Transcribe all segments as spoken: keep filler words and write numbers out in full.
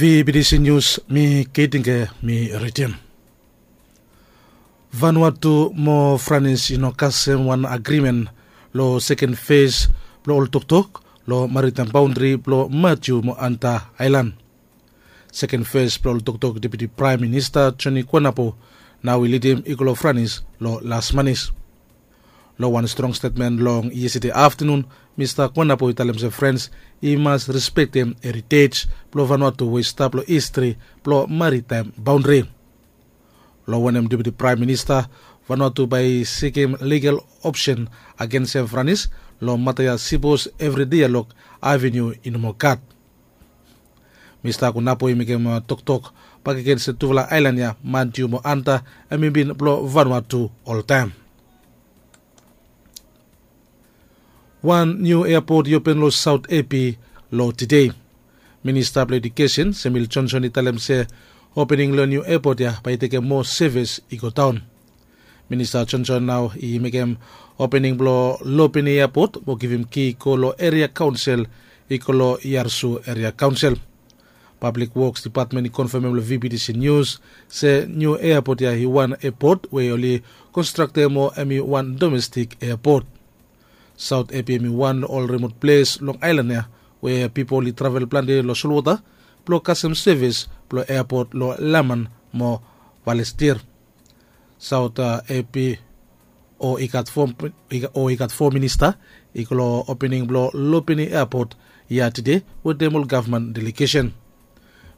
B B C News, mi Keitinge mi ridim. Vanuatu mo Franis i no kasem wan agrimen lo seken fes blo ol toktok lo maritaem baondri blo Matiu mo Anta Aelan. Seken fes blo ol toktok Deputi Praem Minista Joni Kuanapo nao i lidim i go lo Franis lo las manis. Lo wan strong stetmen long yestede aftenun, Mista Kuanapo i talem se Frans i mas respektem eritej blo Vanuatu we i stap lo histri blo maritaem baondri. Lo wanem Deputi Praem Minista, Vanuatu bae i sikim ligal opsen agensem Franis lo mata ya sipos evri dialog avenu i no moa gat. Mista Kuanapo i mekem toktok bakegen se tufala aelan ya, Matiu mo Anta, hemi bin blo Vanuatu oltaem. Wan niu eapot i open lo Saot Epi lo tede. Minista blo Ejukesen Samuel Johnson i talem se opening lo niu eapot ya bae i tekem moa sevis i godaon. Minista Johnson nao i mekem opening blo Lopini Eapot mo givim ki go lo eria kaonsel i go lo Yarsu Eria Kaonsel. Pablik Woks Dipatmen i konfamem lo V B C News se niu eapot ya i wan eapot we oli konstraktem mo hemi wan domestik eapot. Saot Epi hemi wan lo ol rimot ples long aelan ya we pipol i travel plante lo solwota blo kasem sevis blo eapot lo Laman mo Valestir. Saot Epi o i gat fo minista i go lo opening blo Lopini Eapot ya tede wetem ol gavman delegesen.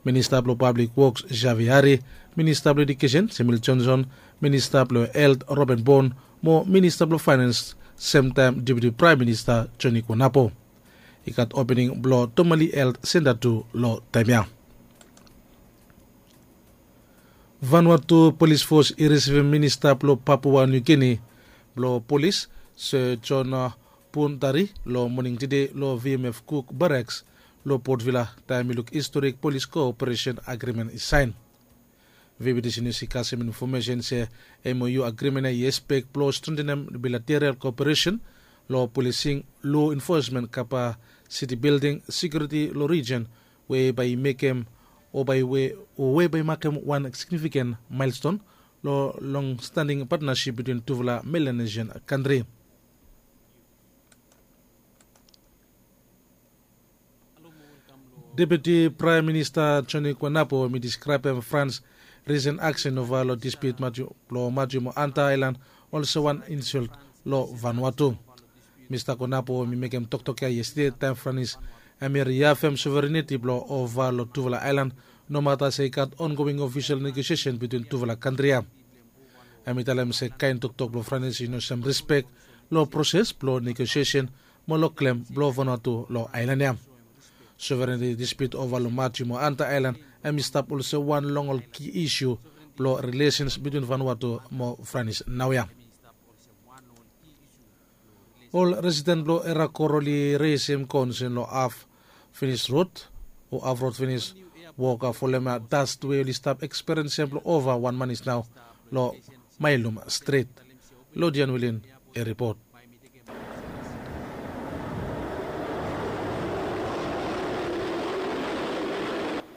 Minista blo Pablik Woks Xavier Hari, Minista blo Ejukesen Samuel Johnson, Minista blo Helt Robin Bon mo Minista blo Faenans, semtaem Deputi Praem Minista Joni Kuanapo. I gat opening blo Tomali Helt Senta tu lo taem ya. Vanuatu Polis Fos i risivim Minista blo Papua Niu Gini blo Polis, Sir John Puntari, lo moning tede lo V M F Cook Barracks lo Port Vila, taem i luk historik polis koperesen agrimen i saen. V B C News i kasem infomesen se M O U agrimen ya i ekspek blo strentenem bilateral koperesen lo polising, lo enfosmen, kapasiti bilding, sekiuriti lo rijen we bae i mekem o bae we o we bae i makem wan signifiken maelston lo longstaning patnasip bitwin tufala Melanesian kantri. Deputi Praem Minista Joni Kuanapo hemi diskraebem Frans risen aksen ova lo dispiut Matiu blo Matiu mo Anta Aelan olsem wan insolt lo Vanuatu. Mista Kuanapo hemi mekem toktok ya yestede taem Franis hemi riafem sovereniti blo ova lo tufala aelan, nomata se i gat ongoing ofisol negosiesen bitwin tufala kantri ya. Hemi talem se kaen toktok blo Franis i no sem rispek lo proses blo negosiesen mo lo klem blo Vanuatu lo aelan ya. Sovereniti dispiut ova lo Matiu mo Anta Aelan hemi stap olsem wan long ol ki isu blo rilesens bitwin Vanuatu mo Franis naoia. Ol residen blo Erakor oli resem konsen lo haf finis rod o haf rod finis wok folem das we oli stap ekspiriensem blo ova wan manis nao lo Mailum Strit. Lodian Wilin i ripot.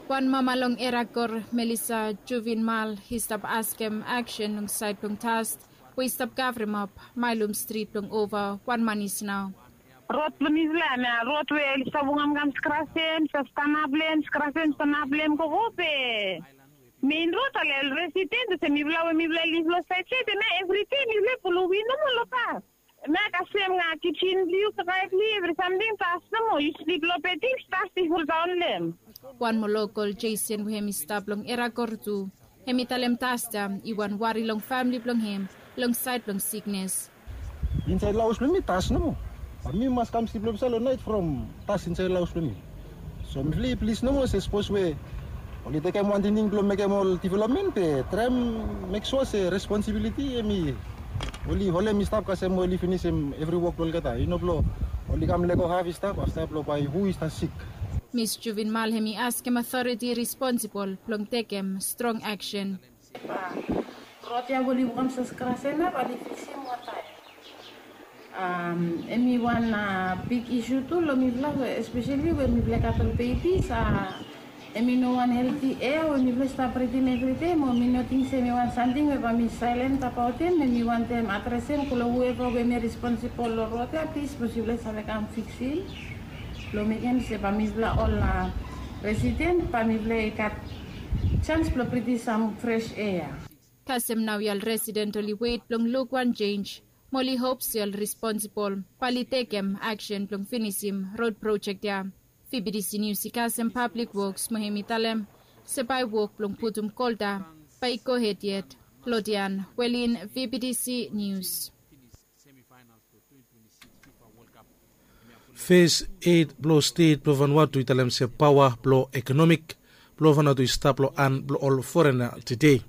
Wan mama long Erakor, Melissa Juvinmal, i stap askem aksen long saed blong dast we i stap kavremap Mailum Strit blong ova wan manis nao. Rod blong mifala ya, rod we oli stap wokamkam skrasem, stap stanap long hem, skrasem, stanap long hem, gogo be. Mein rod, ol residen olsem mifala we mifala liv long saed saed ya, evri dei mifala pulum win nomo long pas. Hemia kasem nao kisen blong yu, kakae blong yu, evri samting das nomo, yu slip long bed, das i foldaon long hem. Wan moa lokol, Jason, we hemi stap long Erakor tu, hemi talem das ya i wan wari long famle blong hem long saed blong siknes. Insaed long haos blong mi das nomo. Bat mi mas kam slip long hemsa long naet from das insaed long haos blong mi. So mifala i plis nomo se sapos we oli tekem wan tingting blong mekem ol developmen be traem mek sua se responsibiliti hemi oli holem i stap kasem we oli finisim evri wok blong olgeta, i no blong oli kam lego haf i stap afta blong bae hu i stap sik. Mis Juvinmal hemi askem aotoriti responsibol blong tekem strong aksen. Rod ya we oli wokamsem skrasem ya bae oli fiksim wantaem. Hemi wan big isu tu long mifala, espeseli we mifala gat ol bebis, a, Em i no wan helti ea we mipela i stap britim evridei, mo mi no ting se em i wan samting we bae mi sailent abaotim. Em i wantem adresem long whoever we em i responsibol long rot ya, plis, bikos yupela save kam fiksim, long mekem se bae mipela ol, a, resident, bae mipela i gat sans blong britim sam fresh ea. Kasem naoia ol resident oli wet blong luk wan jenj, mo oli hop se ol responsibol bae oli tekem aksen blong finisim rod projek ya. Vbtc News i kasem Pablik Woks mo hem i talem se bae wok blong putum kolta bae i gohed yet. Lodian Welin, Vbtc News. Fes eit blong stet blong Vanuatu i talem se paoa blong ekonomik blong Vanuatu i stap long han blong ol forena tede.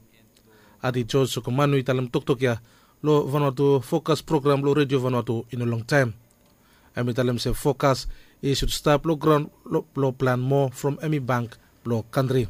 Adi George Sokomanu i talem toktok ya long Vanuatu Fokas program long Redio Vanuatu i no longtaem. Hem i talem se Fokas i sud stap long graon blong plan moa from hem i bank blong kantri.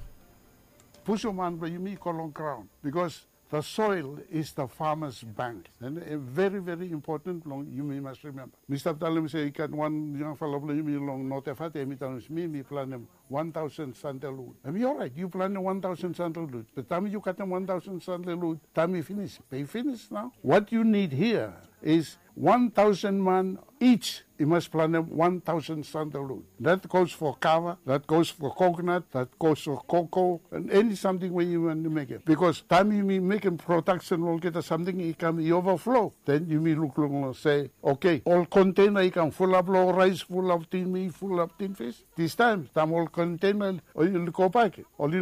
Pusim han blong yumi i go long graon, bikos the soil is the farmer's bank. And, eh, very, very important blong yumi mas rimemba. Mi stap talem se i gat wan yangfala blong yumi long North Efate, hem i talem se mi, mi planem wan tausen sandalwud. Hem i orait, yu planem wan tausen sandalwud. Be taem yu katem wan tausen sandalwud, taem i finis, be i finis nao. What you need here is wan tausen man each i mas planem wan tausen sandalwud. That goes for kava, that goes for coconut, that goes for cocoa, and any samting we yumi wantem mekem. Bikos taem yumi mekem prodaksen, olgeta samting i kam i ovaflo, then yumi lukluk long se, okay, ol konteina i kam fulap long raes, fulap tin mit, fulap tin fis. Distaem, taem ol konteina oli gobak, oli